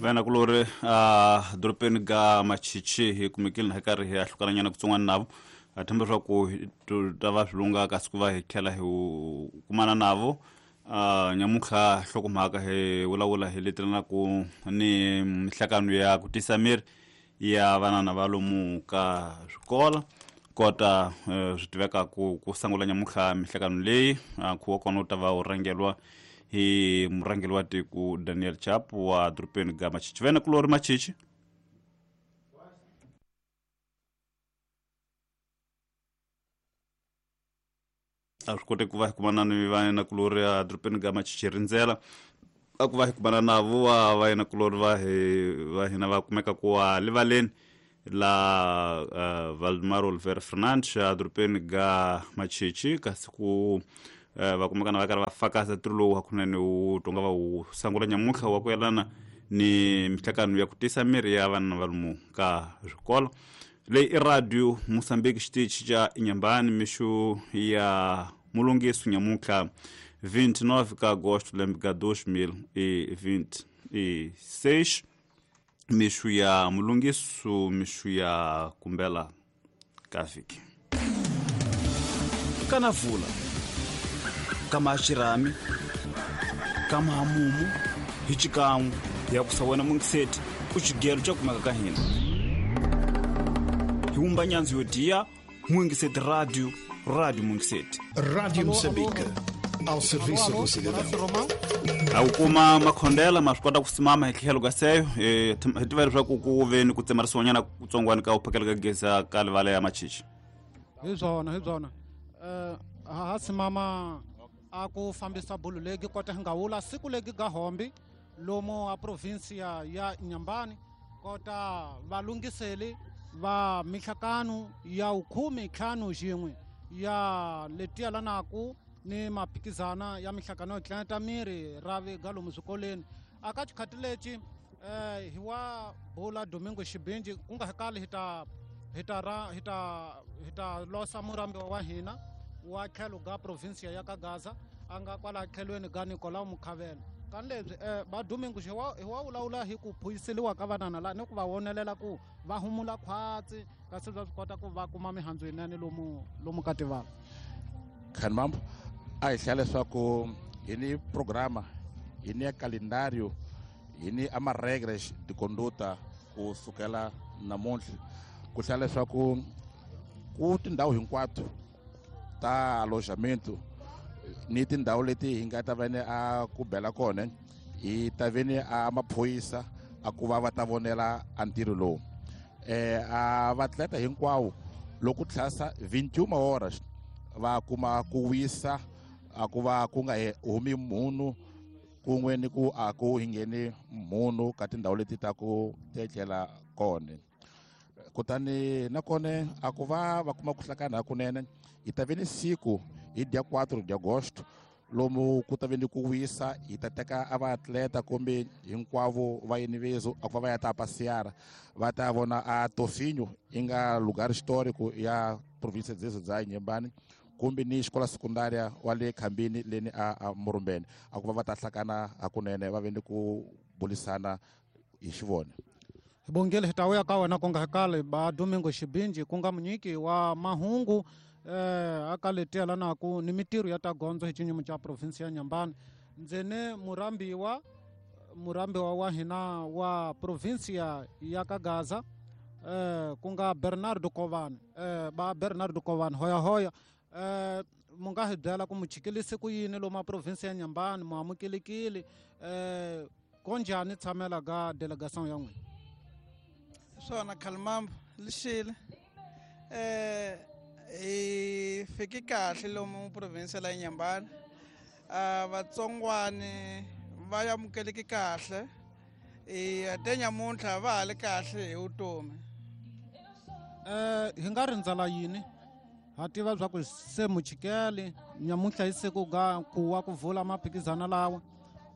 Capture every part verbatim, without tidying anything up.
Vena kulori a dorobeni ga Machichi hi kumekile na hi karhi hi ahlukananyana kutsongwana navo a themba leswaku ta va swi lunga kasi ku va hi tlhela hi kumana navo a nyamuntlha nhlokomhaka hi vulavula hi letelanaku ni mihlakano ya ku tisa miri ya vanana va lomu ka swikola kota swi tiveka ku ku sungula nyamuntlha mihlakano leyi nkhuvo wa kona wu ta va wu rhangelwa hi murhangeri wa tiko Daniel Chapo wa dorobeni ga Machichi. Vena kulori Machichi. A swi kote ku va hi kumana ni vayena kulori a dorobeni ga Machichi rindzela a ku va hi kumana navo wa vayena kulori va hi va hina va kumeka ku wa livaleni la uh, Valdemar Oliveira Fernandes a dorobeni ga Machichi kasi ku uh, va kumekana va karhi va fakaza ntirho lowu hakunene wu tonga va wu sungula nyamuntlha wa ku yelana ni mihlakano ya ku tisa miri ya vana va lomu ka swikolo. Leyi i radio Mozambique xitichi xa Inhambane mixo ya mulungiso nyamuntlha vinte e nove ka agosto lembe ka dois mil e vinte e seis mixo ya mulungiso mixo ya kumbela ka vhiki kana vula kama xirhami kama hamumu hi xikan'we ya ku sa wena mungiseti ku xigelo xa kumeka ka hina hi wumba nyandzo yo diya Mungiseti Radio, Radio Mungiseti. Rádio Moçambique, ao serviço do cidadão. A wu kuma makhondela ma swi kota ku simama hi tlhelo ka seyo hi tiva leswaku ku ve ni ku tsemarisiwanyana kutsongwana ka ku phakela ka gezi ka livala ya Machichi. Hi byona hi byona um ha simama a ku fambisa bulu legi kota hi nga wula siku legi ga hombi lomu a provinsia ya Inhambane kota valungiseli va mihlakano ya ukhume ntlhanu xin'we ya letiya lanaku ni maphikizana ya mihlakano yo tlangeta miri ra vi ga lomu swikolweni aka xikhati lexi eh hi wa bula Domingo Xibinji ku nga kali hi ta hi ta ra hi ta hi ta losa murambiwa wa hina wa tlhelo ga provinsia ya ka Gaza a nga kwala tlhelweni ga Nicolau Mukhavela kani lebyi eh ba Domingo hi wa hi wa vulavula hi ku phuyiseliwa ka vanana la ni ku va vonelela ku va humula khwatsi kasi va swi kota ku va kuma mihandzu yinene lomu lomu ka tivala. Khanmambo a hi hlaya leswaku hi ni programa hi ni ya calendario hi ni ama regras de conduta ku sukela namuntlha ku hlaya leswaku ku tindhawu hinkwato ta alojamento ni tindhawu leti hi nga ta va ni a ku bela kona hi ta ve ni a maphorisa a ku va va ta vonela a ntirho lowu eh a vatleta hinkwawo loko tlhasa vinte e uma horas va kuma ku wisa a ku va ku nga humi munhu kun'we ni ku a ku hi ngheni munhu ka tindhawu leti ta ku tetlela kona kutani nakona a ku va va kuma ku hlakana hakunene hi ta ve ni siku hi dia quatro de agosto lomu ku ta ve ni ku wisa hi ta teka a vaatleta kumbe hinkwavo va yinivezo a ku va va ya ta passear va ta vona a Tofinho yi nga lugar histórico ya província dzezo dza Inhambane kumbe ni xikola sekundária wa le Khambini leni a, a Murumbeni a ku va va ta hlakana hakunene va ve ni ku bulisana hi xivona. Hi bongile hi ta vuya ka wena ku nga kale ba Domingo Xibinji ku nga munyiki wa mahungu eh aka letiya lanaku ni mitirho ya ta gondzo hi xinyimo xa provinsi ya Inhambane ndzene murambiwa murambiwa wa hina wa provinsia ya ka Gaza eh ku nga Bernardo Kovani eh ba Bernardo Kovani hoya hoya eh mu nga hi byela ku muchikilise ku yini lomu a provinsi ya Inhambane mu amukelekile eh konjhani tshamela ga delegation ya n'wina. Swona Khalimambo lixile eh hi fike kahle lomu provinsi la Inhambane a vatsongwani va amukeleke kahle i te nyamuntlha va ha li kahle hi vutomi. Eh hi nga rindzela yini ha tiva bya ku se muchikeli nyamuntlha hi siku ga ku wa ku vula maphikizana lawa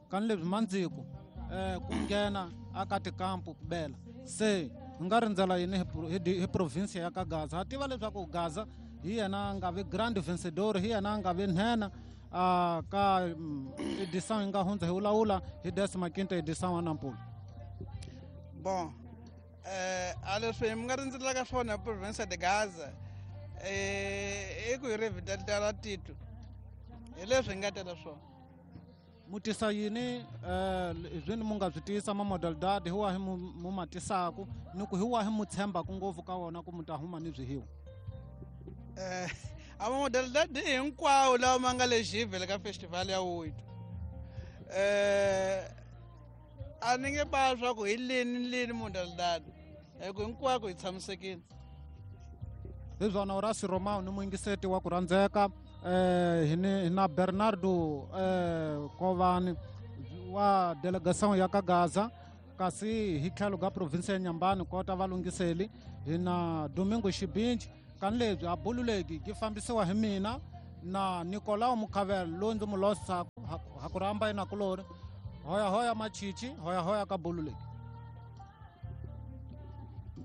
kani leswi mandziko eh ku nghena aka tikampu ku bela se hi nga rindzela yini hi provinsi ya ka Gaza ha tiva leswaku Gaza hi yena a nga vi grand vencedor hi yena a nga vi nhenha a ka edição yi nga hundza hi vulavula hi décima quinta edição wa Nampula. Bon eh a leswi mi nga rindzelaka swona province de Gaza eh i ku hi revitaliza tito hi leswi hi nga tela swona. Mu tisa yini eh swini mu nga swi tisa ma modalidade hi wahi mu ma tisaku ni ku hi wahi mu tshembaku ngopfu ka wona ku mu ta huma ni byihiwa? Eh a ma modalidade hinkwawo lawa ma nga le xivhele ka festival ya oito eh a ni nge ba swa ku hi lini ni lini modalidade hi ku hinkwako hi tshamisekile. Hi swona Horace Romao ni muyingiseti wa ku rhandzeka eh hi ni na Bernardo eh Kovani wa delegation ya ka Gaza kasi hi tlhelo ka province ya Nyambani kota valungiseli hi na Domingo Xibinji kan lebyi a bululeki yi fambisiwa hi mina na Nicolau Mukhavela loyi ndzi mu losaku ha ku rhamba inakulori hoya hoya machichi hoya hoya ka bululeki.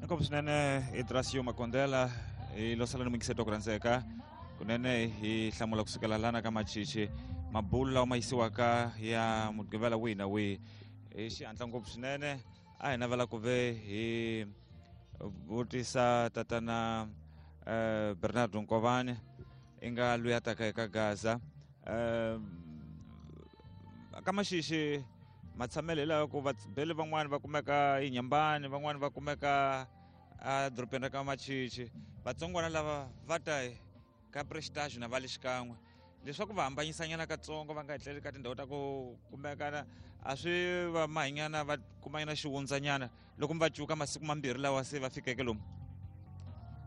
Inkomu swinene Idrasio Makondela hi losala ni muyingiseti wa ku rhandzeka kunene hi hlamula kusukela lana ka machichi mabulu lawa ma yisiwaka ya mugqivela wihi na wihi hi xihatla ngopfu swinene. A hi navela ku ve hi vutisa tatana eh Bernardo Nkovani i nga loyi a taka eka Gaza eh ka Maxixi matshamelo hi lawa ku vabeli van'wani va kumeka eNyambani van'wani va kumeka a dorobeni ra ka Machichi vatsongwana lava va ta ka Prestige na va le xikan'we leswaku va hambanyisanyana katsongo va nga etleli ka tindhawu ta ku kumekana a swi va mahinyana va kumanyana xiwundzanyana loko mi va cuka masiku mambirhi lawa se va fikeke lomu.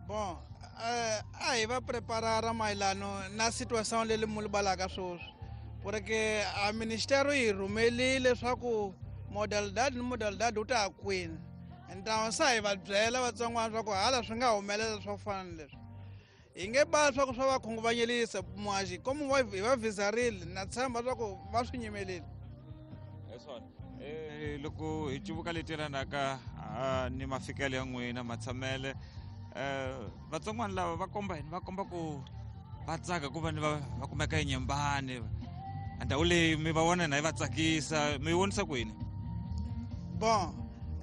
Bon eh a hi va preparara mayelano na situation leyi mu libalaka sweswi porque a ministero yi rhumelile leswaku modalidade ni modalidade wu ta ya kwini ntawo sa hi va byela vatsongwana swa ku hala swi nga humelela swo fana na leswi hi nge ba swa ku swa va khunguvanyelisa muhaxi komu hi va vizarile na tshemba swa ku va swi nyimelile. Hi swona eh loko hi cuvuka leti yelanaka ni mafikelo ya n'wina matshamele eh vatsongwana lava va komba yini va komba ku va tsaka ku va ni va va kumeka eNyambani ndhawu leyi mi va vona na yi va tsakisa mi yi vonisa ku yini? Bon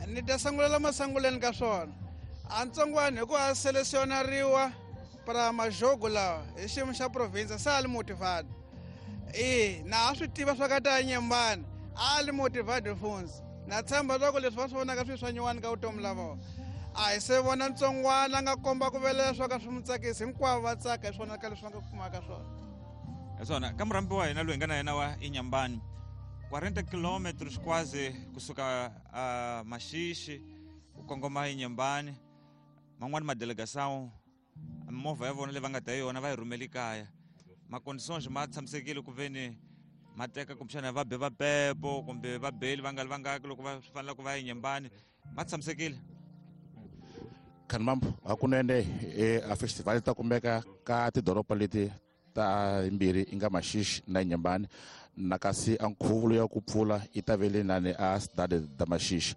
ni ta sangulela masanguleni ka swona a ntsongwana hi ku a selesionariwa para majogo lawa hi xiyimo xa province se a li motivado e na a swi tiva swa ka ta Nyambani a li motivado funzi na tshemba swa ku leswi va swi vonaka swi swa nyuwani ka vutomi la vona a hi se vona ntsongwana a nga komba ku velela swa ka swi mu tsakisi hinkwavo va tsaka hi swona ka leswi va nga kumaka swona. Hi swona ka murhambi wa hina loyi hi nga na yena wa eNyambani quarenta kilometros quase kusuka a Maxixi ku kongoma eNyambani man'wani madelegação movha ya vona leyi va nga ta yona va yi rhumeli kaya maconditions ma tshamisekile ku veni ma teka kumbexana va be va pepo kumbe va beli va nga li vangaki loko va fanele ku va eNyambani ma tshamisekile. Khanimambo hakunene a festival ta kumeka ka tidoroba leti ta mbirhi i nga Maxixi na Nyambani na kasi a nkhuvulo ya ku pfula yi ta ve le nani a Cidade da Maxixi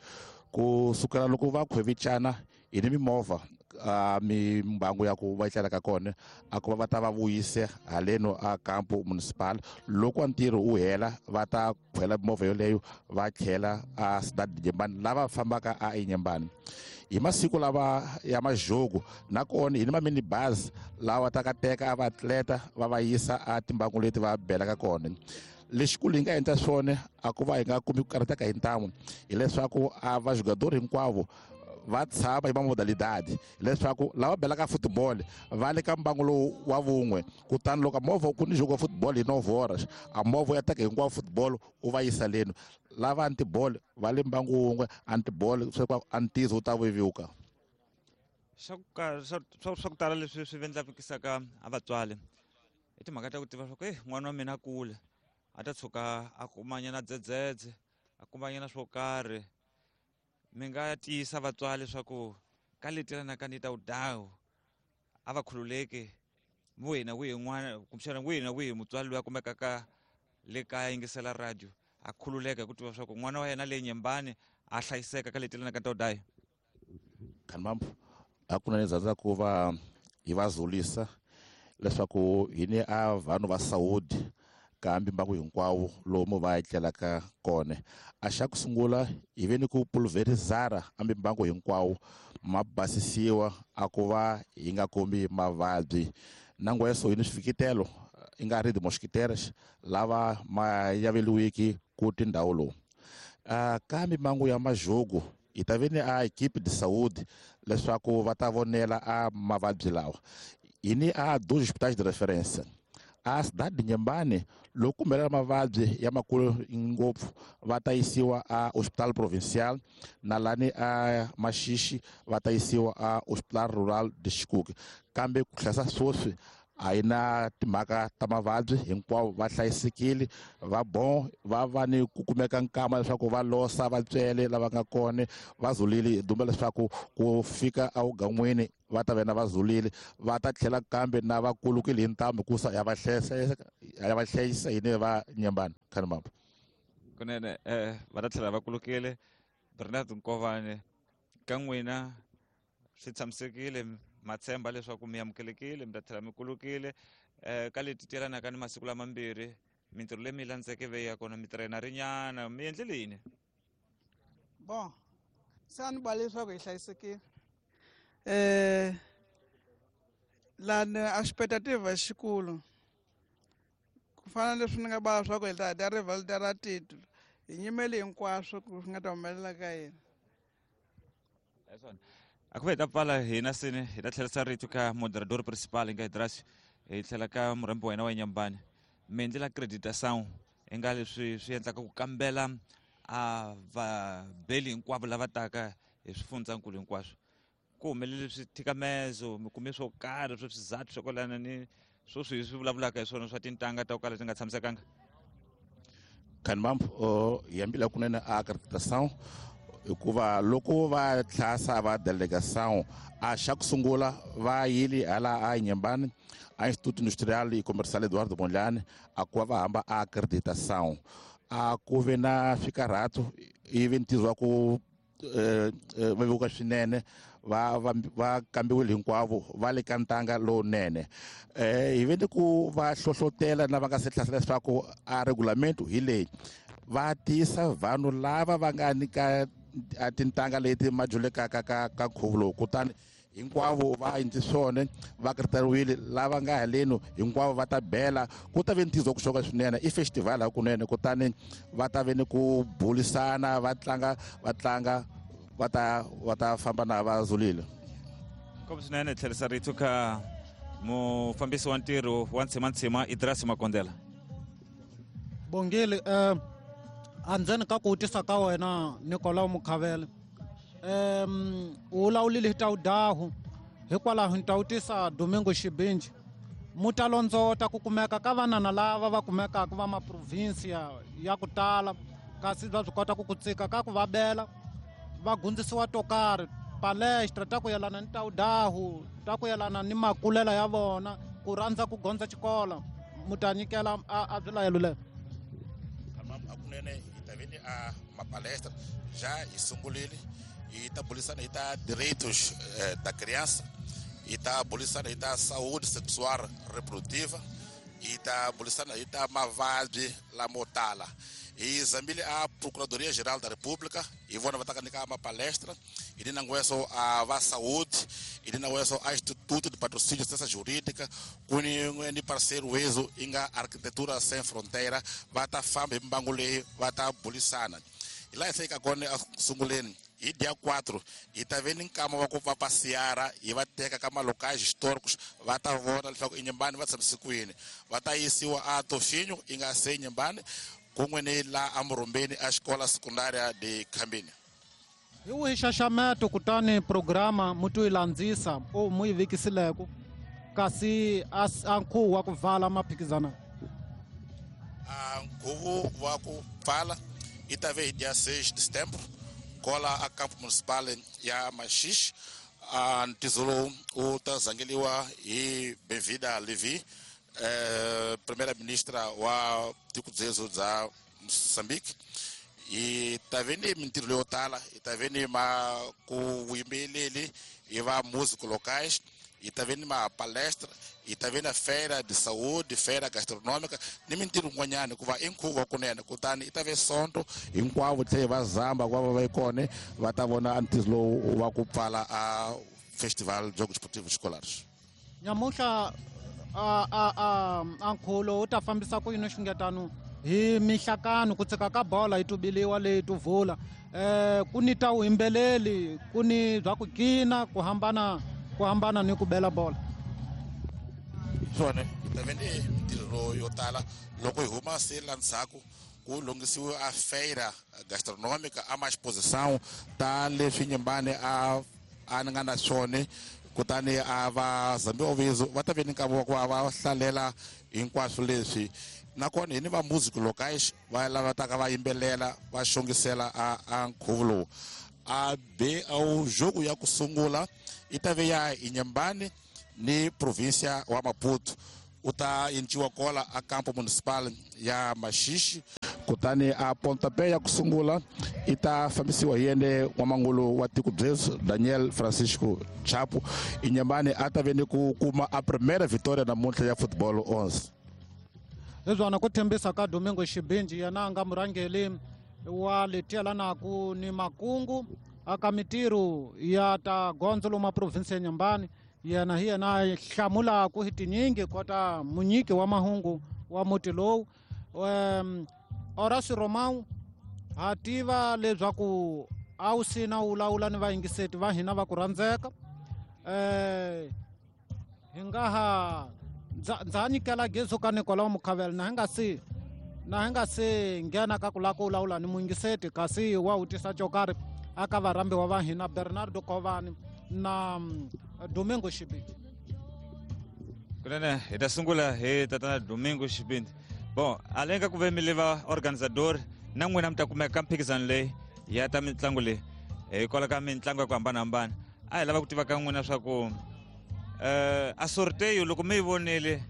ku sukela loko va khwevicana hi ni mimovha a mimbangu ya ku va etlelaka kona a ku va va ta va vuyise haleno a campo municipal loko a ntirho wu hela va ta khwela mimovha yoleyo va tlhela a Cidade de Nyambani lava fambaka a eNyambani hi masiku lava ya majogo nakona hi ni ma-minibus lawa ta ka teka a vaatleta va va yisa a timbangu leti va belaka kona. Lexikulu hi nga endla swona a ku va hi nga kumi ku karhateka hi ntamu hileswaku a vajogador hinkwavo va tshama hi mamodalidade leswaku lava belaka football va le ka mbangu lowu wa vun'we kutani loko movha ku ni jogo wa football hi nove horas a movha ya teka hinkwavo football u va yisa leno lava antiball va le mbangu wun'we antiball swa antizo wu ta vevuka. Swa ku swa swa ku tala leswi swi vendlavikisaka a vatswari i timhaka ta ku tiva swa ku eh n'wana wa mina a kula a ta tshuka a kumanyana dzedzedze a kumanyana swo karhi mi nga tiyisa vatswari leswaku ka leti yelanaka ni ta wudawu a va khululeki wihi na wihi n'wana kumbexana wihi na wihi mutswari loyi a kumekaka le kaya yingisela radio a khululeka hi ku tiva swa ku n'wana wa yena le Nyambani a hlayiseka ka leti yelanaka ni ta wudayi. Khanimambo hakunene rhandza ku va hi va zulisa leswaku hi ni a vanhu va Saudi kambi mbangu hinkwawo lomu va etlelaka kona. A xa ku sungula hi ve ni ku pulverizara ambi mbangu hinkwawo ma basisiwa a ku va hi nga kombi mavabyi. Nangweso hi ni swifikitelo i nga ri mosquiteras lava ma yaveliwiki ku tindhawu lowu. Uh, kambe mbangu ya majogo hi ta ve ni a equipe de saúde leswaku va ta vonela a mavabyi lawa. Hi ni a dois hospitais de referência. A cidade de Inhambane, loko humelela mavabyi ya makulu ngopfu va ta yisiwa a hospital provincial, na lani a Maxixi va ta yisiwa a hospital rural de Xikuke. Kambe ku hlayisa sweswi a yi na timhaka ta mavabyi, hinkwavo va hlayisekile, va bon, va va ni ku kumeka nkama leswaku va losa vatswele lava nga kona va zulile. Hi dumba leswaku ku fika awugan'wini va ta ve na va zulile, va ta tlhela kambe na va kulukile hi ntambu kusa ya va hlayisa ya va hlayisa hi ne va Inhambane. Khanimambo kunene eh va ta tlhela va kulukile. Bernard Nkovane, ka n'wina swi tshamisekile, ma tshemba leswaku mi amukelekile, mi ta tlhela mi kulukile eh ka leti tyelanaka ni masiku lamambirhi, mintirho leyi mi yi landzeke ve ya kona mi tirhena rinyana mi endlele yini? Bon, se a ni ba leswaku hi hlayisekile. Eh lani a expectativa xikulu ku fana leswi ni nga ba leswaku hi ta dya rivalda ra titulo, hi nyimele hinkwaswo ku swi nga ta humelela ka hina. Leswona a ku ve hi ta pfala hina seni hi ta tlherisa rito ka moderador principal hi nga Hidrasi, hi tlhela ka murhambi wa hina wa Inhambane. Mi endlela acreditação i nga leswi swi endlaka ku kambela a vabeli hinkwavo lava taka hi swifundzankulu hinkwaswo. Ku humelele swithikamezo, mi kume swo karhi swo swizathu swo kwalana ni swo swi swi vulavulaka hi swona swa tintangha ta ku kala ti nga tshamisekanga? Khanimambo, hi hambile kunene a acreditação hikuva loko va tlhasa va delegação a xa ku sungula va yile hala a Inhambane a Instituto Industrial e Comercial Eduardo Mondlane a ku va va hamba a acreditação. A ku ve na swikarhato ivi ntirho wa ku vevuka swinene, va va va kambiwile hinkwavo va le ka ntanga lowunene. Eh hi ve ni ku va hlohlotela na va nga se hlasela leswaku a regulamento hi leyi va tisa vanhu lava va nga ni ka a tintangha leti ma dyulekaka ka ka nkhuvo lowu, kutani hinkwavo va endli swona va kritariwile. Lava nga haleni hinkwavo va ta bela, ku ta ve ntizo ku xoka swinene, i festival hakunene. Kutani va ta ve ni ku bulisana, va tlanga va tlanga va ta va ta famba na va zulile. Nkomu swinene. Tlherisa rito ka mufambisi wa ntirho wa Ntshimantshima Idrasi Makondela. Bongile, eh andzeni ka ku vutisa ka wena Nicolau Mukhavele, um u vulavulile hi ta wudahu, hikwalaho ni ta vutisa Domingo Xibinji, mu ta londzota ku kumeka ka vanana lava va kumekaka va maprovinsia ya ku tala, kasi va swi kota ku ku tsika ka ku va bela va gundzisiwa to karhi palestra ta ku yelana ni ta wudahu, ta ku yelana ni makulela ya vona, ku rhandza ku gondza xikolo, mu ta nyikela a swilayelo leyo? Hakunene hi ta ve ni a mapalestra já hi sungurile, hi ta bulisana hi ta direitos eh, da criança, hi ta bulisana hi ta saúde sexual reprodutiva, hi ta bulisana hi ta mavabyi lamo tala. Hi zambile a Procuradoria Geral da República, hi vona va ta ka nyika mapalestra, hi ni nangweso a va saúde, hi ni nangweso a Instituto de Patrocínio de Ciência Jurídica, ku ni ni parceiro wezo i nga Arquitetura Sem Fronteira, va ta famba hi mbangu leyi va ta bulisana. Hi laha hi fika kona a sunguleni hi dia quatro hi ta ve ni nkama wa ku va passeara, hi va teka ka malocais históricos, va ta vona leswaku Inhambane va tshamise kwini, va ta yisiwa a Tofinho i nga se Inhambane kun'we ni la aMurumbeni a xikola secundária de Khambini. Hi wihi nxaxameto kutani programa mu to yi landzisa o mu yi vekisileko kasi a a nkhuvo wa ku vala maphikizana? A nkhuvo wa ku pfala i ta ve hi dia seis de setembro kola a campo municipal ya Maxixi. A ntizo lowu wu ta zangeliwa hi Benvinda Levi, eh, primeira ministra wa tiko dzezo dza Moçambique. Hi ta ve ni mintirho leyo tala, hi ta ve ni ma ku vuyimbeleri hi va músico locais, Hi ta ve ni mapalestra, hi ta ve na feira de saúde, feira gastronômica, ni mintirho yin'wanyana hikuva i nkhuvo wa kunene. Kutani i ta ve sonto hinkwavo tlhela va zamba ku va va yi kona va ta vona ntizo lowu wa ku pfala a festival Jogos Esportivos Escolares. Nyamuhla a a a a nkhulo wu ta fambisa ku yini xungetano hi mihlakano ku tsika ka bola yi tubiliwa leyi tuvula eh ku ni ta wuyimbeleli ku ni bya ku kina ku hambana ku hambana ni ku bela bola. Swona hi ta ve ni mintirho yo tala loko hi huma se la ndzhaku ku lunghisiwe a feira gastronômica a ma exposição ta leswi Inhambane a a ni nga na swona. Kutani a va Zambi Ovizo va ta ve ni nkarhi wa ku va va hlalela hinkwaswo leswi. Nakona hi ni va music locais va lava taka va yimbelela va xongisela a a nkhuvo lowu. A be a jogo ya ku sungula i ta ve ya Inhambane ni província wa Maputo. U ta enciwa kola a campo municipal ya Maxixe. Kutani a pontapé ya ku sungula i ta fambisiwa hi yene n'wamangulu wa tiko byesu Daniel Francisco Chapo. Inhambane a ta ve ni ku kuma a primeira vitória namuntlha ya football onze. Leswana ku tshembisa ka Domingo Xibinji yena a nga murhangeri wa letielanaku ni makungu aka mitirho ya ta gondzo lomu province ya Inhambane. Yena hi yena a hlamulaku hi tinyingi kota munyiki wa mahungu wa muti lowu. Um, Horacio Romão ha tiva leswaku a wu sina wu lawula ni vayingiseti va hina va ku rhandzeka. Eh hi nga ha ndza ha nyikela gezu ka Nicolau Mukhavela na hi nga si na hi nga si nghena ka ku lava ku lawula ni muyingiseti kasi wa wu tisa xo karhi aka varhambiwa va hina Bernardo Kovani na Domingo Xibindi. Kunene hi ta sungula hi tatana Domingo Xibindi. Bon, além ka ku ve mi le va organizador na n'wina mi ta kumeka ka mphikizano leyi ya ta mitlangu leyi hikwalaho ka mitlangu ya ku hambanahambana. A hi lava ku tiva ka n'wina swa ku eh a sorteio loko mi yi vonile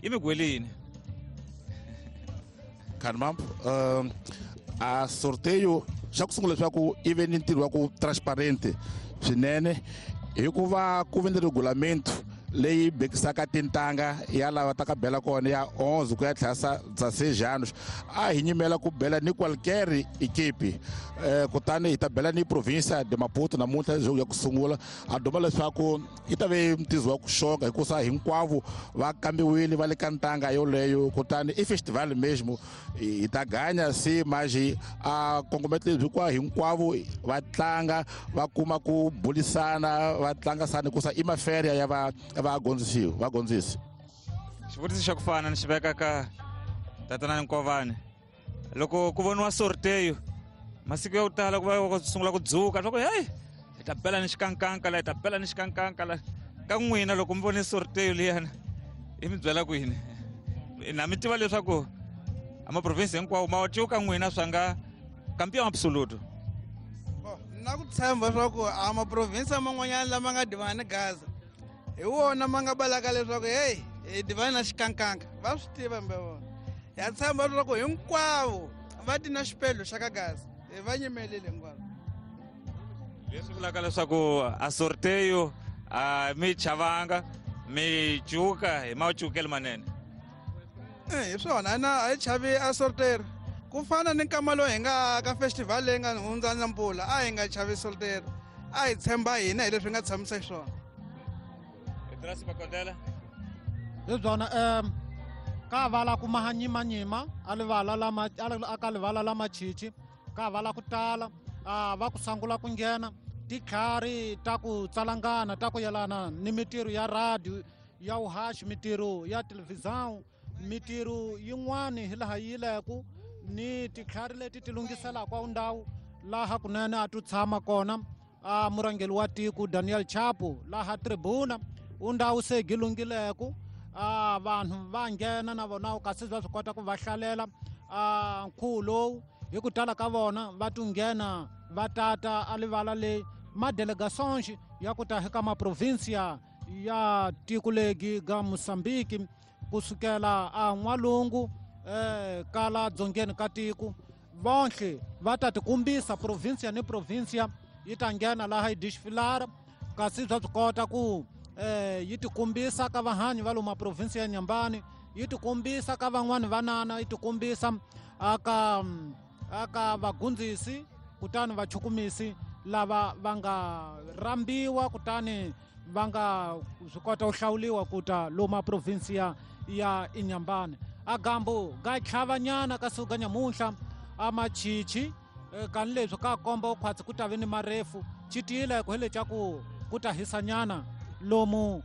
yi mi gwele yini? Carmampo, um, a sorteio xa ku sungula leswaku i ve ni ntirho wa ku transparente swinene hikuva ku ve ni regulamento leyi bekisaka tintanga ya lava taka bela kona ya onze ku ya tlhasa dezesseis anos. A hi nyimela ku bela ni qualquer equipe. Eh, kutani hi ta bela ni província de Maputo namuntlha jogo ya ku sungula. A duma leswaku yi ta ve ntizo wa ku xonga hikusa hinkwavo va kambiwile va le ka ntanga yoleyo. Kutani i festival mesmo hi ta ganya se mas a kongomelo lebyi kwa hinkwavo va tlanga va kuma ku bulisana va tlanga sani hikusa i maferia ya va va gondzisiwa va gondzisi. Xivutiso xa ku fana ni xi veka ka tatana Nkovani. Loko ku voniwa sorteio masiku ya ku tala ku va ku sungula ku dzuka swa ku hey hi ta bela ni xikankanka la hi ta bela ni xikankanka la. Ka n'wina loko mi vone sorteio liyana i mi byela ku yini? Na mi tiva leswaku a maprovinsi hinkwawo ma cuka n'wina swa nga campeão absoluto. Na ku tshemba leswaku a maprovinsi man'wanyana lama nga divana ni Gaza hi wona ma nga balaka leswaku hey hi divana na xikankanka va swi tiva mbe vona. Ya tshemba leswaku hinkwavo va ti na xipedlo xa ka Gaza hi va nyimelile hinkwavo. Leswi vulaka leswaku a sorteio a mi chavanga mi cuka hi macukelo manene. Eh hi swona na a hi chavi a sorteio ku fana ni nkama lowu hi nga ka festival leyi nga hundza na mpfula a hi nga chavi sorteio a hi tshemba hina hi leswi hi nga tshamisa xiswona. Drasi Makondela. Leswana um ka vala ku mahanyimanyima a livala lama a ka livala la Machichi ka vala ku tala a va ku sangula ku nghena titlhari ta ku tsalangana ta ku yelana ni mitirho ya radio ya uhaxi mitirho ya televisão mitirho yin'wani hi laha yi leku ni titlhari leti ti lunghiselaka ndhawu laha kunene a tu tshama kona a murhangeri wa tiko Daniel Chapo laha tribuna undhawu se gilungileku a vanhu va nghena na vona kasi va swi kota ku va hlalela a nkhuvo lowu hi ku tala ka vona va tunghena va tata a livala leyi madelegations ya ku ta eka maprovinsia ya tiko legi ga Mozambique kusukela a n'walungu eh kala dzongeni ka tiko vonhle va ta tikumbisa provinsia ni provinsia yi ta nghena laha yi desfilara kasi bya swi kota ku eh yi tikombisa ka vahanyi va lomu province ya Inhambane, yi tikombisa ka van'wani vanana, yi tikombisa aka aka vagundzisi kutani vachukumisi lava va nga rambiwa kutani va nga swi kota ku hlawuliwa ku ta lomu province ya ya Inhambane. Agambo ga tlhavanyana ka suka nyamunhla a machichi kan leswi ka komba khwatsi ku ta ve ni marefu chitile ku hele ku ku ta hisanyana lomu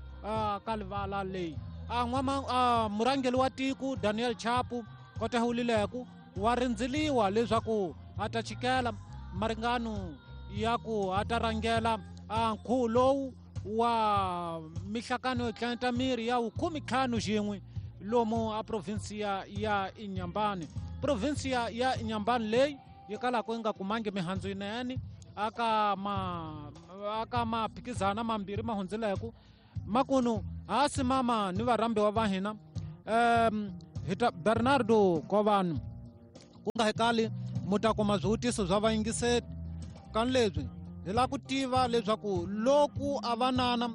ka livala leyi. A n'wama murhangeri wa tiko Daniel Chapo kota hulileku wa rindziliwa leswaku a ta chikela maringano ya ku a ta rhangela a nkhuvo lowu wa mihlakano yo tlanta miri ya khume ntlhanu xin'we lomu a provinsia ya Inhambane. Provinsia ya Inhambane leyi yi kalaka yi nga kumangi mihandzu yinene aka ma aka maphikizana mambirhi ma hundzileku makunu hasi mama ni varhambiwa va hina um hita Bernardo Kovanu ku nga hekali mu ta kuma swivutiso swa vayingiseri kan leswi hi lava ku tiva leswaku loko a vanana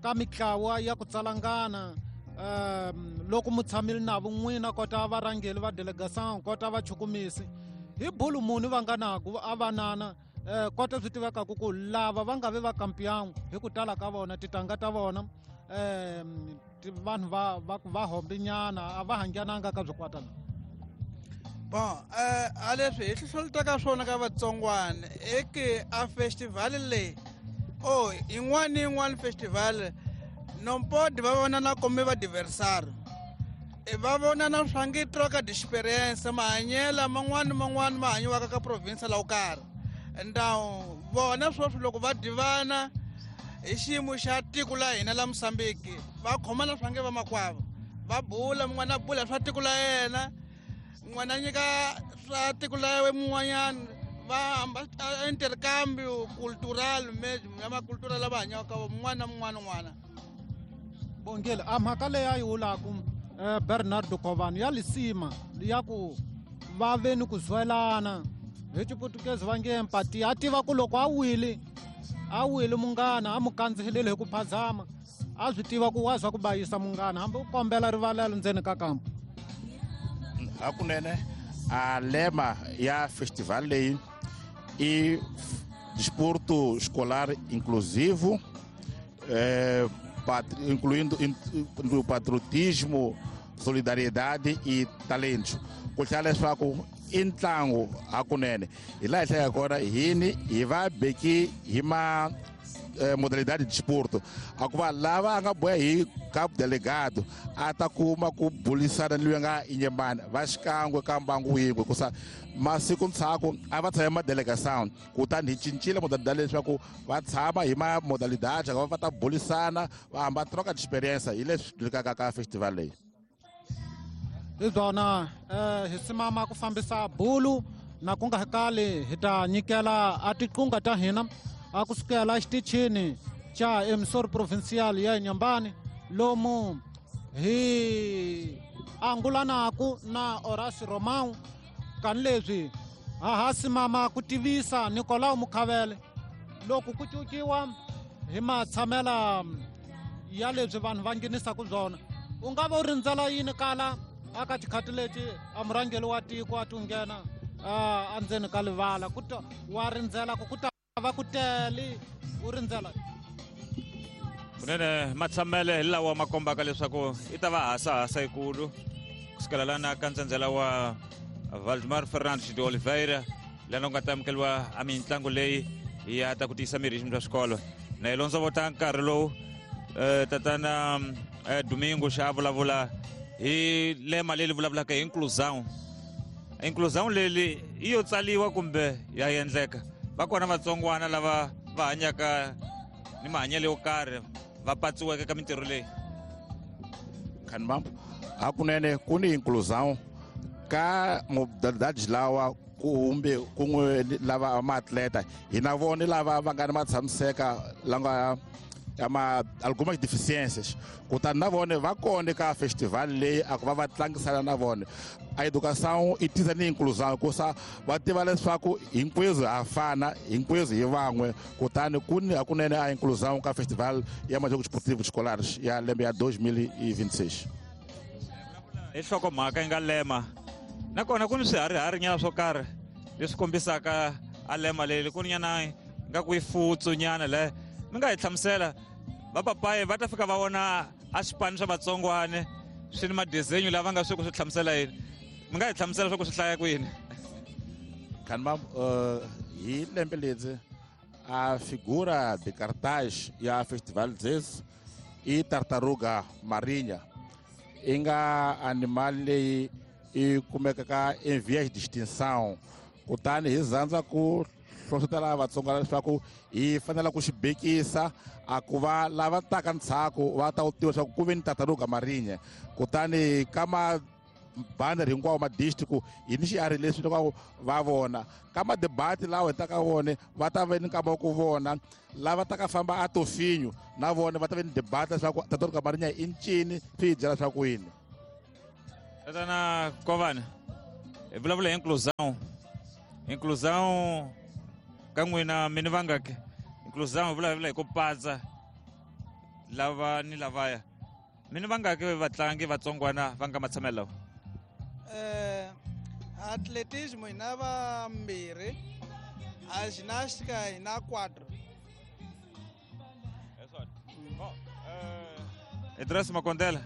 ka mitlawa ya ku tsalangana um loko mu tshamile na vo n'wina kota varhangeri va delegation kota vachukumisi hi bulu muni va nga naku a vanana eh kota swi tivekaku ku lava va nga ve va kampiyangu hi ku tala ka vona titanga ta vona um vanhu va va va hombinyana a va hangananga ka swikwata. Bon, eh a leswi hi hlohlotaka swona ka vatsongwana i ke a festival leyi o yin'wana ni yin'wana festival nompodi va vonana kumbe va diversar va vonana swa nge troca d'experience mahanyelo man'wana man'wana ma hanyiwaka ka province la wo karhi. Ndawu vona sweswi loko va divana hi xiyimo xa tiko la hina la Mozambique va khomana swa nge vamakwavo va bula mun'wana a bula swa tiko la yena n'wana nyika swa tiko la we mun'wanyana va hamba intercambio cultural ya macultura lava hanyaka mun'wana na mun'wana n'wana. Bongile a mhaka leyi a yi vulaku Bernardo Kovani ya lisima ya ku va ve ni ku zwelana hi xiputukezi va nge empati a tiva ku loko a wile a wile munghana a mu kandzihelele hi ku phazama a swi tiva ku wa swa ku bayisa munghana hambi u kombela rivalelo ndzeni ka kampa. Hakunene a lema ya festival leyi i desporto escolar inclusivo, eh, incluindo o patriotismo, solidariedade e talento. Ku tlhela leswaku i ntlangu hakunene hi laha hi hlayaka kona hini hi va beki hi ma modalidade de desporto a ku va lava a nga boya hi cabo delegado a ta kuma ku bulisana ni loyi a nga Inhambane va xikan'we ka mbangu yin'we hikusa masiku ndzhaku a va tshama madelegação kutani hi cincile modalidade leswaku va tshama hi ma modalidade va va ta bulisana va hamba troca de experiência hi leswi dlikaka ka festival leyi. Hi byona hi simama ku fambisa bulu na ku nga kali hi ta nyikela a tiqunga ta hina a kusukela xitichini xa emissor provincial ya Inhambane lomu hi angulanaku na Horacio Romão kan leswi ha ha simama ku tivisa Nicolau Mukhavele loko ku cuciwa hi matshamela ya leswi vanhu va nghenisaka byona u nga va u rindzela yini kala aka tikhati leti a murhangeri wa tiko a ti nghena a ndzeni ka livala ku ta wa rindzela ku ku ta va ku tele u rindzela. Kunene matshamele hi lawa ma kombaka leswaku i ta va hasahasa yikulu kusukela lana ka ntsendzela wa Valdemar Fernandes de Oliveira lana ku nga ta amukeriwa a mitlangu leyi ya ta ku tiyisa miri hi xiyimo xa swikolo. Na hi londzovota nkarhi lowu tatana Domingo xa vulavula hi lema leri vulavulaka hi inclusão. Inclusão leri i yo tsaliwa kumbe ya endleka va kona vatsongwana lava va hanyaka ni mahanyelo yo karhi va patsiweke ka mintirho leyi. Khanbambo hakunene ku ni inclusão ka modalidades lawa kumbe kun'we lava maatleta hi na vona lava va nga ni matshamiseka la nga ama algumas deficiências. Kutani na vona va kona ka festival leyi a ku va va tlangisana na vona. A educação i tisa ni inclusão, kusa va tiva leswaku hinkwenu ha fana, hinkwenu hi van'we. Kutani ku ni hakunene a inclusão ka festival ya Majogos Esportivos Escolares ya lembe ya dois mil e vinte e seis. Hi nhlokomhaka yi nga lema nakona ku ni swiharihari nyana swo karhi leswi kombisaka a lema leyi ku ni nyana nga ku yi futsu nyana le mi nga hi hlamusela vapapayi va ta fika va vona a swipano swa vatsongwane swi ni madesenyo lava nga swi ku swi hlamusela yini mi nga hi hlamusela swa ku swi hlaya kwini. Kanma hi lembe ledzi a figura de cartaz ya festival dzesi i tartaruga marinha i nga animal leyi i kumekaka em vias de extinção. Kutani hi zandza ku hlohlotela Vatsonga leswaku hi fanele ku xi bekisa a ku va lava taka ndzhaku va ta tiva leswaku ku ve ni tartaruga marinha. Kutani ka mabanner hinkwawo ma district hi ni xiharhi leswi loko va vona ka madebate lawa hi taka vone va ta ve ni nkama wa ku vona lava taka famba a tofinyo na vona va ta ve ni debate leswaku tartaruga marinha i ncini swi hi byela swa ku yini. Tatana Kovana hi vulavula hi inclusão. Inclusão ka n'wina mi ni vangaki? Inclusão hi vulavula hi ku patsa lava ni lavaya. Mi ni vangaki vatlangi vatsongwana va nga matshamelo lawa? Eh, atletismo hi na vambirhi, a ginástica hi na quatro. Idris Makondela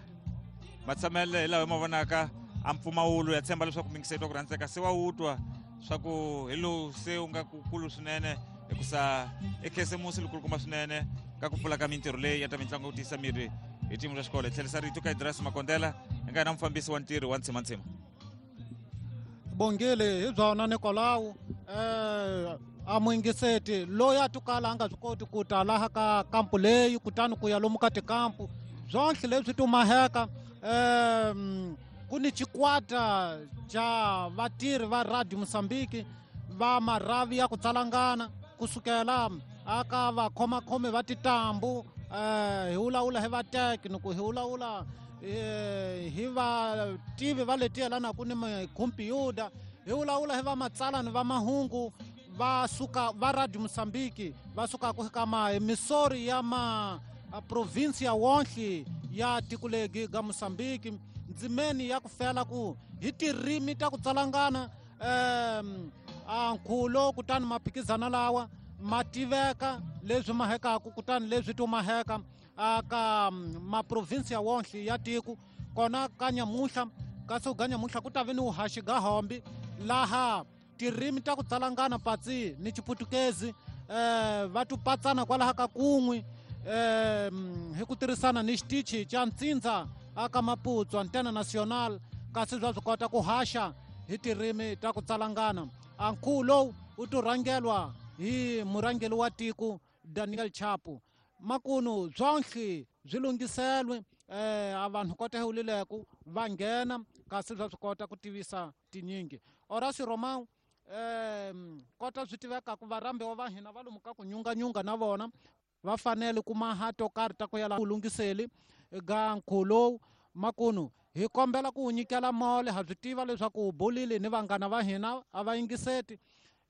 matshamelo hi lawa hi ma vonaka a mpfumawulo ya tshemba leswaku mingiseto ku rhandzeka se wa wu twa swa ku hi lowu se wu nga kukulu swinene hikusa i khisimusi likulukumba swinene ka ku pfula ka mintirho leyi ya ta mitlangu yo tiyisa miri hi team ra xikolo. Hi tlherisa rito ka Idris Makondela hi nga na mufambisi wa ntirho wa Ntsimantsima. Bongile hi byona Nicolau eh a muingiseti loyi a tukala a nga swi koti ku ta laha ka kampu leyi kutani ku ya lomu ka tikampu byonhle leswi tumaheka um ku ni xikwata xa vatirhi va Radio Mozambique va marhavi ya ku tsalangana kusukela aka vakhomakhomi va titambu eh hi vulavula hi va technical hi vulavula hi vativi va leti yelanaka ni mikhompyuta hi vulavula hi va matsalani va mahungu va suka va Radio Mozambique va sukaka ka ma misori ya ma province ya wonhle ya tiko legi ga Mozambique ndzimeni ya ku fela ku hi tirimi ta ku tsalangana um a nkhulo kutani maphikizana lawa ma tiveka leswi mahekaku kutani leswi tumaheka aka maprovinsi ya wonhle ya tiko kona ka nyamuhla kasi ga nyamuhla ku ta ve ni vuhaxi ga hombi laha tirimi ta ku tsalangana patsi ni xiputukezi eh va tupatsana kwalaha ka kun'we eh hi ku tirhisana ni xitichi xa ntsindza aka Maputo Antena Nacional kasi bya swi kota ku haxa hi tirimi ta ku tsalangana. A nkhuvo lowu wu to rhangelwa hi murhangeri wa tiko Daniel Chapo. Makunu byonhle byi lunghiselwe eh a vanhu kota hi wulileku va nghena kasi bya swi kota ku tivisa tinyingi. Horacio Romão eh kota swi tiveka ku varhambiwa va hina va lomu ka ku nyunganyunga na vona va fanele ku maha to karhi ta ku yala ku lunghiseli ga nkhuvo lowu. Makunu hi kombela ku wu nyikela mole ha swi tiva leswaku u bolile ni vanghana va hina a va yingiseti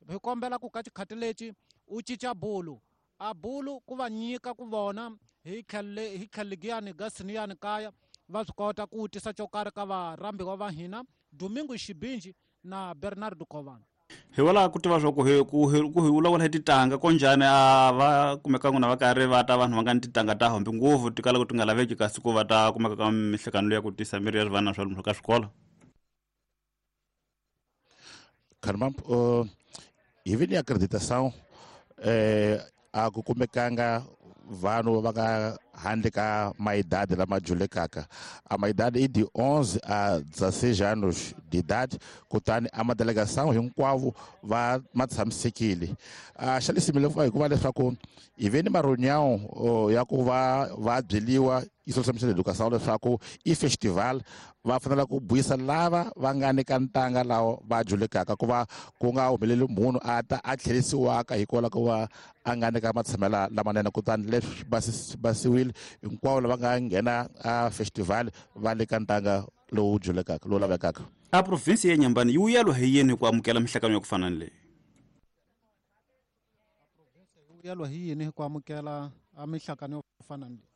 hi kombela ku ka xikhati lexi u cinca bulu a bulu ku va nyika ku vona hi tlhele hi tlhelegiyani ga siniyani kaya va swi kota ku tisa xo karhi ka varhambiwa va hina Domingo Xibinji na Bernardo Kovana. Hi wala ku tiva swa ku hi ku hi ku hi vulavula hi titanga konjhani a va kumeka n'wina va karhi va ta vanhu va nga ni titanga ta hombi ngopfu ti kala ku ti nga laveki kasi ku va ta kumeka ka mihlekano ya ku tisa miri ya vana swa lomu ka swikolo. Caramba, uh, hi vi ni acreditação eh a ku kumekanga vanhu va nga handle ka maidade lama julekaka. A maidade i de onze a dezesseis anos de idade, kutani a madelegação hinkwavo va ma tshamisekile. A xa lesimile hikuva leswaku hi ve ni ma-reunião ya ku va va byeliwa Insolação de Educação leswaku i festival va fanele ku buyisa lava va nga ni ka ntanga lawa va julekaka ku va ku nga humeleli munhu a ta a tlherisiwaka hikwalaho ko va a nga ni ka matshamela lamanene. Kutani leswi basiwile hinkwavo lava nga nghena a festival va le ka ntanga lowu julekaka lowu lavekaka. A provinsi ya Inhambane yi vuyelwa hi yini ku amukela mihlangano ya ku fana ni leyi? Yi vuyelwa hi yini ku amukela a mihlangano yo fana ni leyi?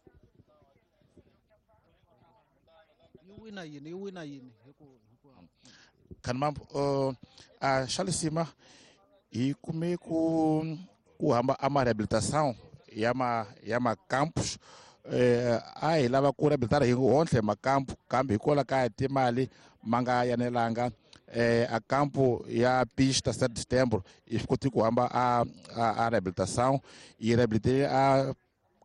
Wina yini wina yini Kanmambo uh, a xalisima hi kume ku ku hamba a ma rehabilitação ya ma ya ma campus eh, a hi lava ku rehabilitara hi hontle makampu kambe hikwalaho ka timali ma nga yanelanga eh, a campo ya pista sete de setembro i swi koti ku hamba a a, a rehabilitação e reabilitei a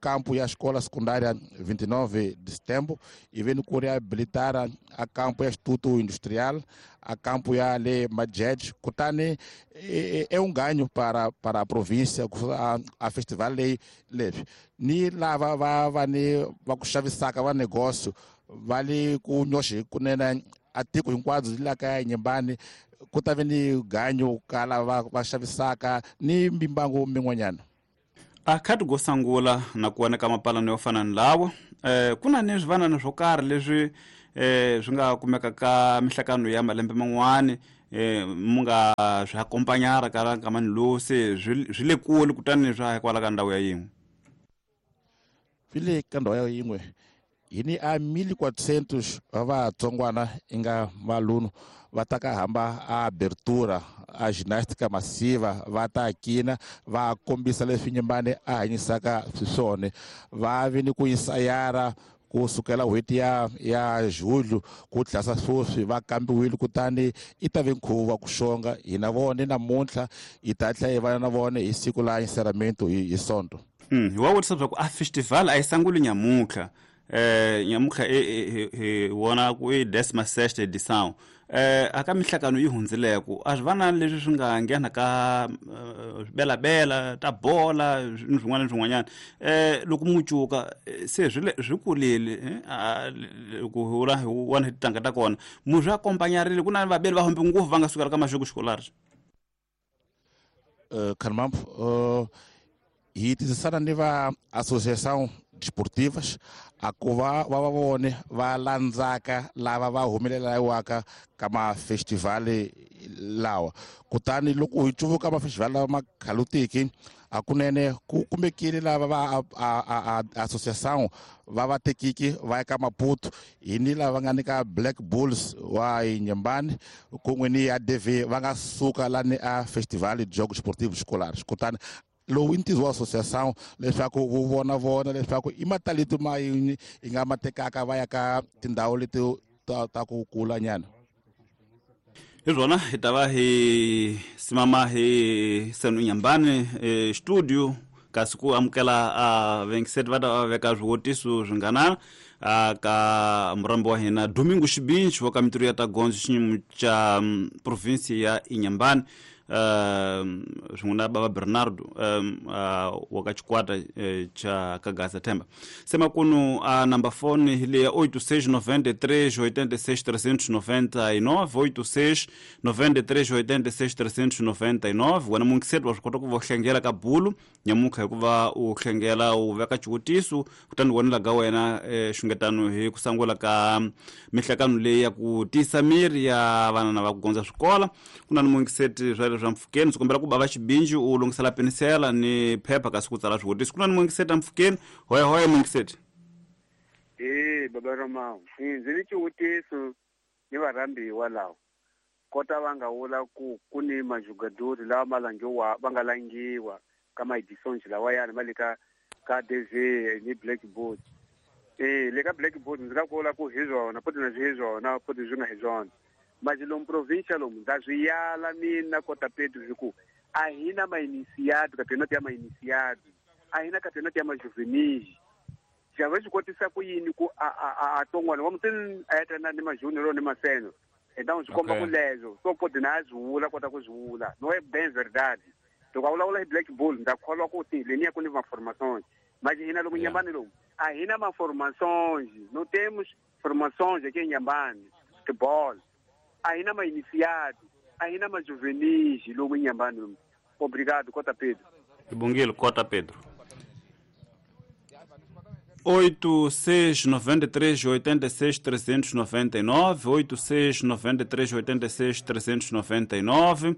campo e a escola secundária vinte e nove de setembro e vem ku reabilitar a campo ya Instituto Industrial, a campo ya le Majed. Kutani é, é um ganho para para a província a, a festival leyi leswi ni lava va va ni va ku xavisaka va negócio va le ku nyoxe kunene a tiko hinkwabyo la ka Inhambane ku ta ve ni ganyo ka lava va xavisaka ni mimbangu min'wanyana. A khati go sangula na ku ka mapalano yo fana ni lawa eh ku na ni swivanana swo karhi leswi eh swi nga kumeka ka mihlangano ya malembe man'wani eh mu nga swi akompanyara ka ka manilosi swi le kule kutani swa hikwalaho ka ndhawu ya yin'we swi le ka ndhawu ya yin'we hi ni a mil quatrocentos va vatsongwana i nga maluno va ta ka hamba a abertura a ginástica massiva va ta kina va kombisa leswi Inhambane a hanyisaka swiswona va vi ni ku ensayara ku sukela n'hweti ya ya julho ku tlhasa sweswi va kambiwile kutani i ta ve nkhuvo wa ku xonga hi na vona namuntlha hi ta tlhela hi va na vona hi siku la encerramento hi hi sonto. Mm, hi wa vutisa leswaku a festival a yi sanguli nyamuntlha eh nyamuntlha e wona ku i décima sexta edição eh aka mihlangano yi hundzileko a swi va na leswi swi nga nghena ka swibelabela ta bola ni swin'wana ni swin'wanyana eh loko mu cuka se swi swi kulile ku hula hi wona titanga ta kona mu swi akompanyarile ku na vabeli va hombe ngopfu va nga sukela ka maxoko xikolari. Uh, Kanmambo uh, hi tirhisana ni va associação desportivas a ku va va va vone va landzaka lava va humelelaka ka mafestivali lawa kutani loko hi cuvuka mafestivali lawa ma khalutiki hakunene ku kumekile lava va a associação va va tekiki va ya ka Maputo hi ni lava nga ni ka Black Bulls wa Inhambane kun'we ni ya D V va nga suka lani a festival de jogos esportivos escolares kutani lowu i ntirho wa associação leswaku wu vona vona leswaku i matalito ma yini i nga ma tekaka va ya ka tindhawu leti ta, ta ku kula nyana. Hi swona hi ta va hi simama hi senu Inhambane eh, studio kasi ku amukela a vengiseti va ta va veka swivutiso swi ngana a ka murambi wa hina Domingo Xibinci wa ka mintirho ya ta gondzo xinyimu xa provinsi ya Inhambane um swin'we na baba Bernardo um wa ka xikwata xa Kagasa Themba. Se makunu a number phone hi leya oito seis noventa e três oitenta e seis trezentos e noventa e nove oito seis noventa e três oitenta e seis trezentos e noventa e nove. Wena mungiseti wa swi kota ku va u hlengela ka bulu nyamuntlha hikuva u hlengela u veka xivutiso kutani wena laga wena xungetano hi ku sangula ka mihlangano leyi ya ku tiyisa miri ya vana na va ku gondza swikola. Ku na ni mungiseti swa swa mpfhukeni ndzi kombela ku bava Xibinci u lunghisela penisela ni phepha kasi ku tsala swivutiso. Ku na ni mungiseti mpfhukeni hoya hoya mungiseti. Eh baba Ramawu ndzi ni xivutiso ni varhambiwa lawa kota va nga vula ku ku ni majugadori lawa ma langiwa va nga langiwa ka ma-editions lawayani ma le ka ka D V ni Blackboard. Eh le ka Blackboard ndzi nga ku vula ku hi swona poti na swi hi swona poti swi nga hi swona mas lomu província lomu ndza swi yala mina kota Pedro hi ku a hi na ma-iniciado campeonato ya ma-iniciado a hi na campeonato ya ma-juvenis Java swi kotisa ku yini ku a a a tongwana wa mutini a ya na ni majunior ni maseno então swi komba ku lezo so pode na zwi vula kota ku zwi vula no é bem verdade loko a vulavula hi Black Bull ndza kholwa ku ti leniya ku ni ma-formações mas hina lomu Inhambane lomu a hina ma-formações não temos formações aqui em Inhambane futebol a hina ma-iniciado a hina ma-juvenis lomu Inhambane lomu. Obrigado, Cota Pedro. Ibongile, Cota Pedro. oito seis nove três oito seis três nove nove, oito seis nove três oito seis três nove nove.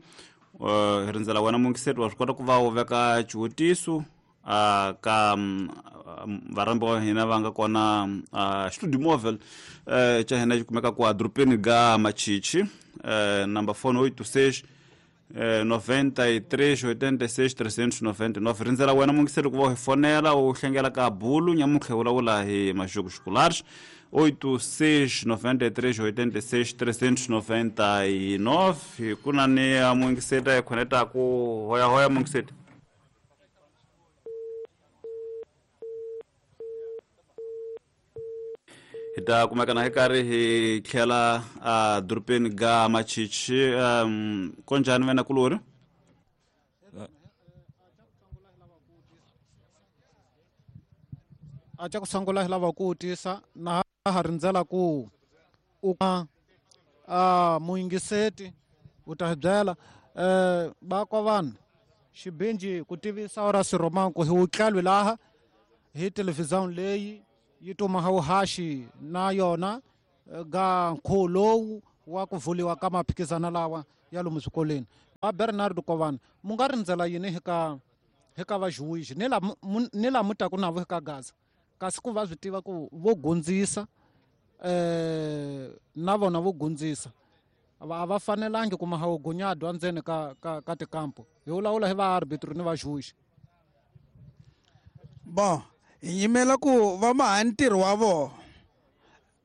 Uh, rindzela wena mungiseri wa swi kota ku va u veka xivutiso uh, ka um, varhambi va hina va nga kona uh, studio mobile uh, xa hina xi kumeka ku adorobeni ga Machichi uh, number phone oito seis noventa e três oitenta e seis trezentos e noventa e nove. Rindzela wena mungiseri ku va u hi fonela u hlengela ka bulu nyamuntlha hi vulavula hi majogos escolares oito seis nove três oito seis três nove nove. Ku na ni mungiseri hi khonetaku hoya hoya mungiseri. Hi ta kumeka na hi karhi hi tlhela a dorobeni ga Machichi. um, konjhani wena kulori? A xa ku sungula hi lava ku vutisa na ha rindzela ku u a muyingiseti u ta hi byela um va vanhu xibinji ku tivisa ora Siromang ku hi wutlalwi laha hi televhizão leyi yi tuma haxi na yona ga nkhuvo lowu wa ku vuliwa ka maphikizano lawa ya lomu swikolweni. Va Bernardo Kovana mu nga rindzela yini hi ka hi ka vajuwixi ni la ni la mu taku navo hi ka Gaza kasi ku va swi tiva ku vo gundzisa eh na vona vo gundzisa a va fanelangi ku maha gunyadwa ndzeni ka ka ka tikampo hi vulavula hi va arbitro ni vajuwixi. Bon, hi yimela ku va maha ntirho wa vona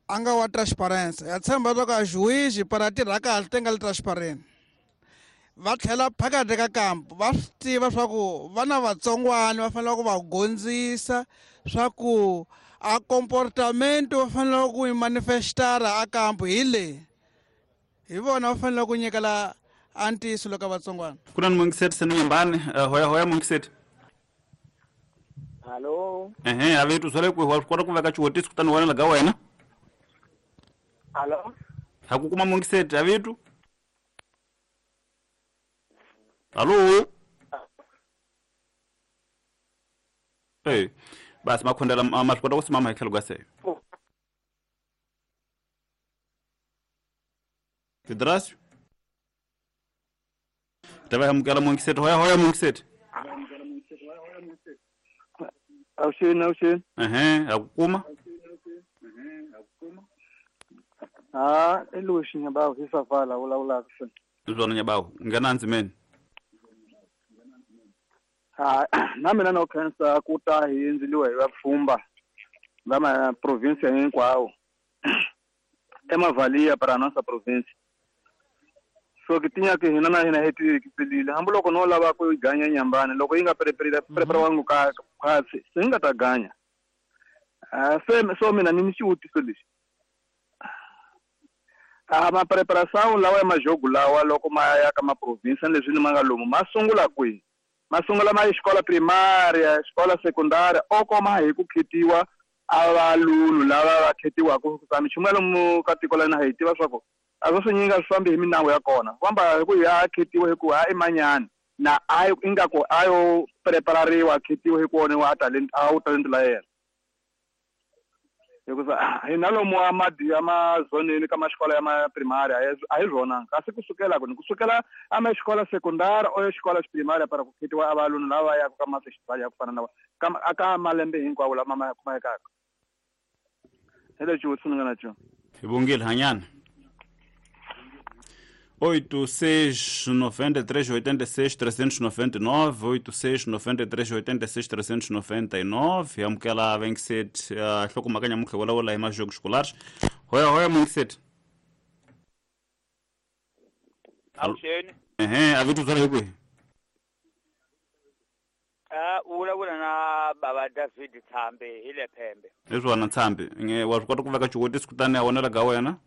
a nga wa transparency ya tshemba loko a juiz para tirha kahle ti nga li transparent va tlhela phakathi ka kampo va swi tiva swa ku va na vatsongwana va fanele ku va gondzisa swa ku a comportamento va fanele ku yi manifestara a kampo hi leyi hi vona va fanele ku nyikela a ntiyiso loko vatsongwana. Ku na ni mungiseti se ni Inhambane. Hoya hoya mungiseti. Allo. Ehe, a vetu swale ku wa kota ku veka xivutiso kutani wena ga wena. Allo. Ha ku kuma mungiseti a vetu. Allo. Eh, basi makhondela ma swi kota ku simama hi tlhelo ka se. Pedrasio. Ta va amukela mungiseti. Hoya hoya mungiseti. Awuxini awuxini. Ehe, ha ku kuma. Ha, i Luxi Nyabawu hi Savala vulavulaka se. Zwona Nyabawu, nghena ndzimeni. Ha, na mina no khensa ku ta hi endzeliwa hi vapfhumba va ma province hinkwawo emavalia para nossa province. So ke tinya ke hina na hina hi tiyikiselile hambiloko no lava ku ganya Inhambane loko yi nga preparewanga ka khwatsi se yi nga ta ganya. Ah, se so mina ni ni xivutiso lexi a ma preparação lawa ya majogo lawa loko ma ya ka ma province leswi ni ma nga lomu ma sungula kwihi? Ma sungula ma xikola primária, xikola secundária o koma hi ku khetiwa a valulu lava va khetiwaka ku minchumu ya lomu ka tiko la hina hi tiva swa ku a swo swinyingi a swi fambi hi minawu ya kona famba hi ku ya khetiwa hi ku ha i manyani na a ingaku a yo preparariwa a khetiwa hi ku wona a talent a wu talent la yena hikuva hina lomu a madi ya mazoneni ka maxikola ya ma primary a hi swona kasi kusukela ku ni kusukela a ma xikola secondary o xikola xi primary para ku khetiwa a valunu lava ya ka ma festival ya ku fana na ka aka malembe hinkwawo lama ma kumekaka. Hi lexi xivutiso ni nga na xona. Hi bongile hanyana. oito seis nove três oito seis três nove nove, oito seis nove três oito seis três nove nove. Amukela venkiset hlokomhaka nyamuntlha vulavula hi majogos escolares. Hoya hoya mungiseti. Awuxeni. Ehe, a vitu swale hi kwihi? Ah, u vulavula na a baba David Thambe hi le Phembe. Hi swona Thambe, nge wa swi kota ku veka xivutiso kutani a vonela ka wena?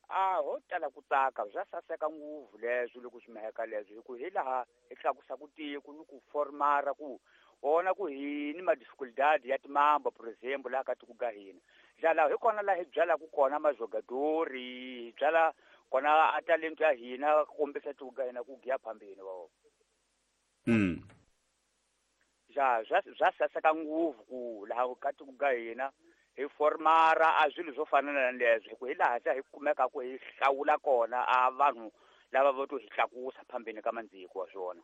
A ho tala ku tsaka bya saseka ngopfu leswi loko swi mheka leswi hi ku hi laha hi tlakusa ku tiko ni ku formara ku vona ku hi ni ma-dificuldade ya timamba por exemple laha ka tiko ka hina. Laha hi kona laha hi byalaka kona majogadori, hi byala kona a talento ya hina ku kombisa tiko ka hina ku giya phambeni wa vona. Mm. Ja bya bya saseka ngopfu ku laha ka tiko ka hina hi formara a swilo swo fana na leswi hi ku hi laha se hi kumeka ku hi hlawula kona a vanhu lava vo to hi tlakusa phambeni ka mandziko wa swona.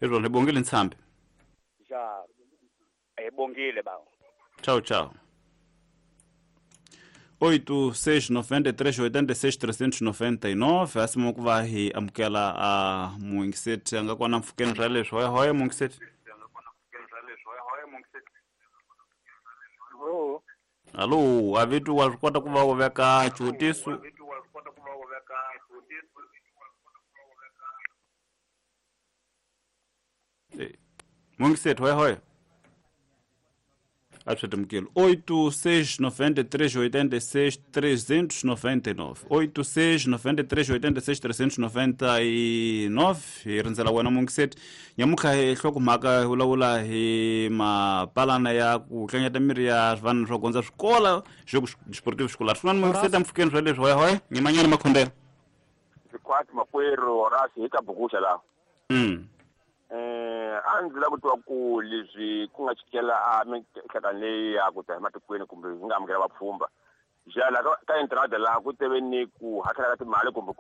Hi swona, hi bongile Nthambi. Ja, hi bongile bawo. Tchau, tchau. oito seis noventa e três oitenta e seis trezentos e noventa e nove asimo ku va hi amukela a muingiseti a nga kona mpfhukeni ra leswi hoya hoya muingiseti. Allo, a vitu wa swi kota ku va u veka xivutiso? Muingiseti hoya hoya. Absolutamente. oito seis noventa e três oitenta e seis trezentos e noventa e nove. oito seis noventa e três oitenta e seis trezentos e noventa e nove. Hi rindzela wena muingiseti. Nyamutlha hi nhlokomhaka hi vulavula hi mapalana ya ku tlanyeta miri ya vanhu swo gondza swikola jogo desportivo escolar. Swin'wana muingiseti ampfhukeni swa leswi hoya hoya. Nyimanyana makhondela. Sikwati makwerhu Horace hi ka bukuxa laha. Mm. Eh a ndzi lava ku twa ku leswi ku nga chikela a mihlangano leyi ya ku ta hi matikweni kumbe hi nga amukela vapfhumba. Xana ka entrada laha ku teve ni ku hakela ka timali kumbe